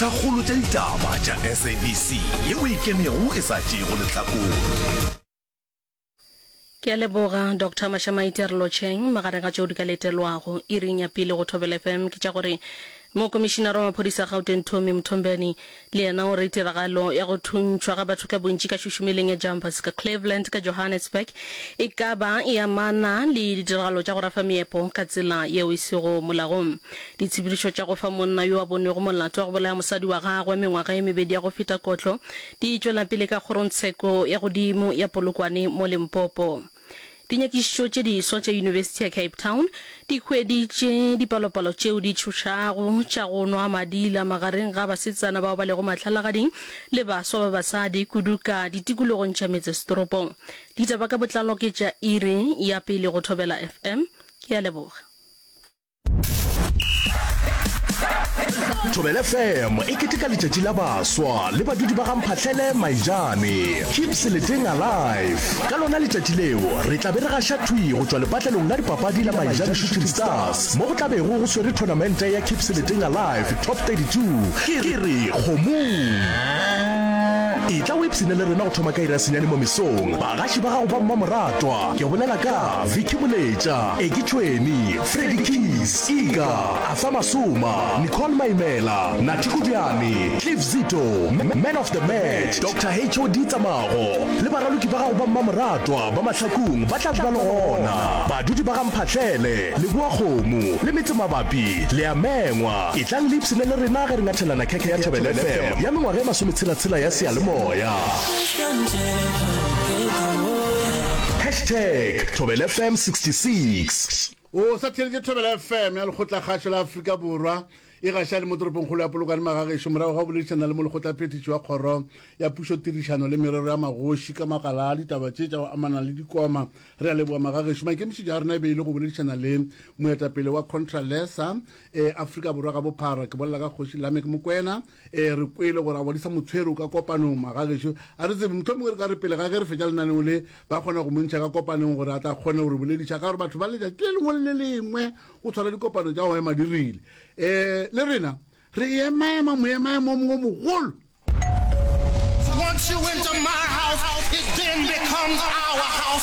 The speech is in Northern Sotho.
Kgolo tša ditaba tša SABC yeo e kenego e sa tšeego lehlakore. Ke a leboga Doctor Mashamaite re lotšheng. Magareng ga tšeo di ka letelwago iring ya pele go Thobela FM ke tša gore Mokomišinara wa maphodisa a Gauteng Tommy Mthombeni le yena o re tiragalo ya go thuntšhwa ga batho ka bontši ka šušumeleng ya Jumpers ka Cleveland ka Johannesburg e ka ba e amana le ditiragalo tša go rafa meepo ka tsela yeo e sego molaong. Ditshepedišo tša go fa monna yo a bonwego molato wa go bolaya mosadi wa gagwe mengwaga ye mebedi ya go feta kotlo di tšwela pele ka kgorongtsheko ya godimo ya Polokwane mo Limpopo. Dinyakišišo tše diswa tša Yunibesithi ya Cape Town di hweditše dipalopalo tšeo di tšhošago tša go nwa madila magareng ga basetsana bao ba lego mahlalagading le baswa ba basadi kudu ka ditikologong tša metsesetoropong. Ditaba ka botlalo ke tša iri ya pele go Thobela FM. Ke a leboga. Thobela FM e keteka letšatši la baswa le badudi ba ga Mphahlele Maijane. Keep Seleteng alive. Ka lona letšatši leo re tla be re gaša thwi go tšwa lepatlelong la dipapadi la Maijane Shooting Stars mo go tla bego go swere thonamente ya Keep Seleteng Alive Top 32. Ke re kgomong. Etla o ipshine le rena go thoma ka iri ya senyane mo mesong. Bagaši ba gago ba mmamoratwa ke bolela ka Vicky Moletša, Eki Tšhweni, Freddy Keys, Iga, Arthur Masoma, Nicole Maimela, Nathi Kobjane, Cliff Zito, Man of the Match, Doctor HOD Tsamago le baraloki ba gago ba mmamoratwa ba Mahlakung ba tla be ba le gona. Badudi ba ga Mphahlele, Leboakgomo le metsemabapi le a mengwa. Etlang le ipshine le rena ge re ngathelana khekhe ya Thobela FM ya mengwaga e masometshela-tshela ya seyalemoya. Hashtag Thobela FM 66. O sa theeletše Thobela FM ya Lekgotlakgašo la Afrika Borwa e gaša le mo toropongkgolo ya Polokwane Magagešo morago ga go boledišana le molekgotlaphethiši wa kgoro ya pušo tirišano le merero ya magoši ka makala a ditaba tše tša go amana le dikoma. Re a leboga Magagešo. Maikemišetšo a rena e be e le go boledišana le moetapele wa Contralesa e Afrika Borwa ka bophara, ke bolela ka Kgoši Lameck Mokwena. E re kwele gore a bodisa motshwere o ka kopanong magagešo a re tsebe mohlomongwe re ka re pele ga ge re fetša lenaneo le ba kgona go mo ntšha ka kopanong gore a tla kgone go re bolediša ka gore batho ba letšatši le lengwe le le lengwe go tshwara dikopano tša go ema di rile um le rena re emaema moemaemo o mongwe mogolo. Once you enter my house, it then becomes our house.